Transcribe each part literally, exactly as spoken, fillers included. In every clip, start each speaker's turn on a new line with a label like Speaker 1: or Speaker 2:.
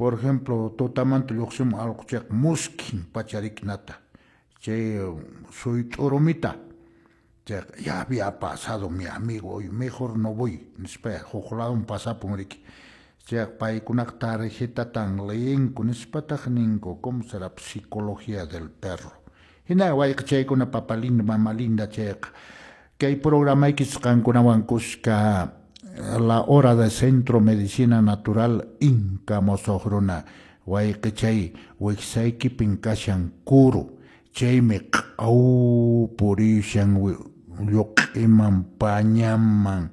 Speaker 1: Por ejemplo, tutamanta lluqsimun allqu chayqa muskhin pacharikinata chay suyt'urumita chayqa ya había pasado mi amigo hoy mejor no voy nispa huk ladun pasapun riki. Chayqa paykunaqa tarjetatan leyenku nispataq ninku. ¿Cómo será psicología del perro? Hina wayqichaykuna, papa lindo, mama linda, chayqa kay programaykichis qankunawan kuska la hora de Centro Medicina Natural Inca Mosoq Runa. Wayqichay, wiksaykipin kashan kuru, chaymi q'aw purishan lluq'iman pañaman.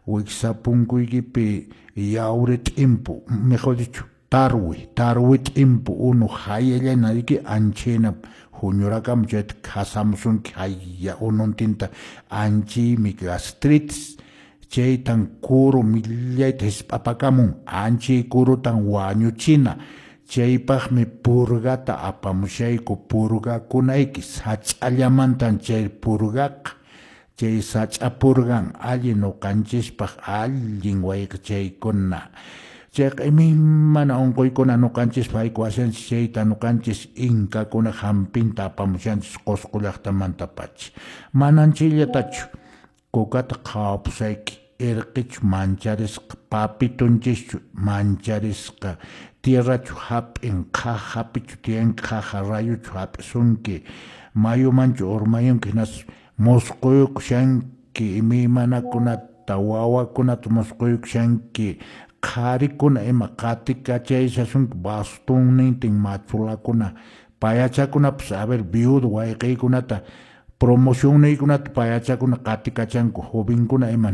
Speaker 1: Wiksa punkuykipi yawri t'impu, mejor dicho, tarwi tarwi t'impu unu hayallana riki anchayna huñurakamun, chayta khasamusunki haya ununtinta. Anchaymi gastritis, chaytan kuru millayta hisp'apakamun. Anchay kurutan wañuchina, chaypaqmi purgata apamushayku purgakunayki. Sach'allamantan chay purgaqa, chay sach'a purgan allin ñuqanchispaq, allin wayqichaykuna. Chayqa imaymana unquykuna ñuqanchispaq haykuwashanchis, chayta ñuqanchis inkakuna hampinta apamushanchis Qusqu llaqtamantapacha. Manan chayllatachu, kukata qhawapusayki, irqichu mancharisqa, papitunchischu mancharisqa, tierrachu hap'in, qhaqhapichu tiyanki, qhaqa rayuchu hap'isunki, mayumanchu urmayunki, hinaspa musquykushanki imaymanakunata, wawakunata musquykushanki, qharikuna ima qatikachayashasunki bastonnintin machulakuna, payachakunapas. A ver, viudo wayqiykunata, promocionniykunata payachakuna qatikachanku, jovenkuna ima.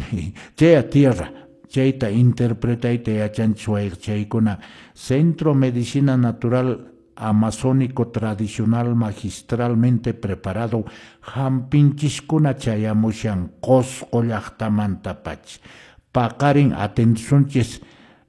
Speaker 1: Chaya tierra, chayta interpretayta yachanchis wayqichaykuna. Centro Medicina Natural Amazónico Tradicional magistralmente preparado hampinchiskuna chayamushan Qusqu llaqtamantapacha. Paqarin atendisunchis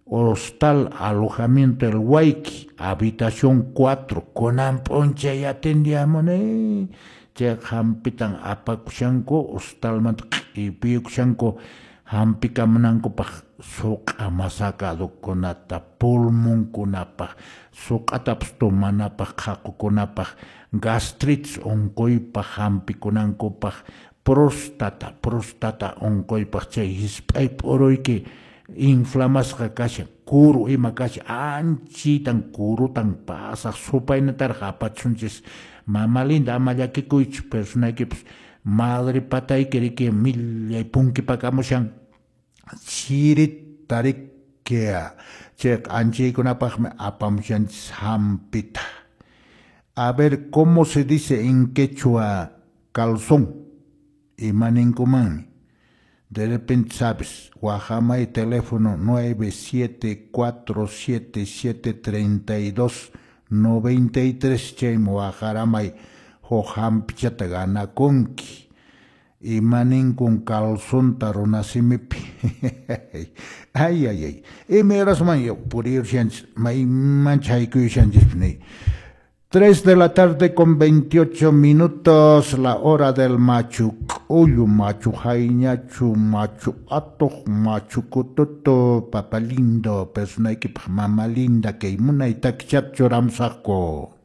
Speaker 1: Hostal Alojamiento El Huayqui, habitación cuatro, kunan p'unchay atendiamuni. Chayqa hampitan apakushanku hostalmanta, q'ipiykushanku hampikamunankupaq suq'a masakadukunata, pulmonkunapaq, suq'atapas tomanapaq, qhaqukunapaq, gastritis unquypaq hampikunankupaq, próstata próstata unquypaq, chay hisp'ay p'uruyki inflamasqa kashan, kuru ima kashan, anchitan kurutan pasaq supaynataraq apachisunchis. Mama linda, ama llakikuychu, personaykipas madre patayki riki millay punkipakamushan chirita riki. Chayqa anchaykunapaqmi apamushanchis hampita. A ver, ¿cómo se dice en quechua calzón? Ima ninkumanmi? De repente sabes, waqhamay teléfono nueve siete cuatro siete siete treinta y dos noventa y tres, chaymi waqharamay, huk hampichata ganakunki. Ima ninkun calzonta runasimipi? Ay, ay, ay. Imay horasman puriyushanchis, maymancha haykuyushanchis ni. Tres de la tarde con veintiocho minutos, la hora del machu k'ullu, machu hayñachu, machu atuq, machu kututu, papa lindo, personaykipaq mama linda, kay munay takichata churamusaqku.